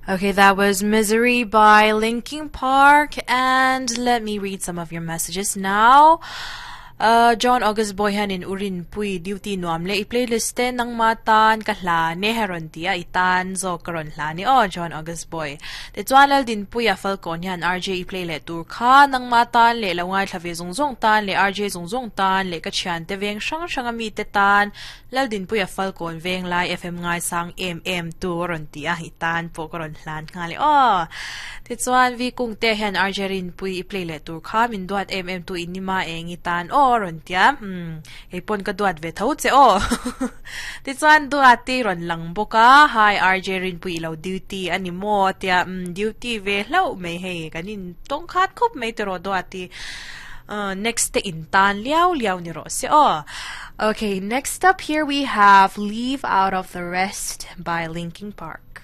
Okay, that was Misery by Linkin Park. And let me read some of your messages now. Uh, John August Boy hianin U Rinpui duty nuam le i playlist te nangma tan ka hla ne he rawn ti a i tan zawk ka rawn hla ni aw John August Boy te chuan Laldinpui a Falkawn hian RJ i play leh tur kha nangma tan leh lo ngaithla ve zawng zawng tan leh RJ zawng zawng tan leh ka thiante veng hrang hrang a mite tan Laldinpuia Falkawn Venglai FM ngaisang em em tu a rawn ti a, i tan pawh ka rawn hlan nghal e aw. Tichuan Vi Kungte hian RJ Rinpui i play leh tur kha min duat em em tu in nima eng i tan aw a rawn ti a, umm kei pawn ka duat ve tho che aw. Tichuan Duati rawn lang bawk a, Hi RJ Rinpui i lo duty a ni maw a tia, umm duty ve hlauh mai hei kan in tawng khat khawp mai tiraw Duati. Next te in tan liau liau ni rawh se aw. Okay, next up here we have Leave Out of the Rest by Linkin Park.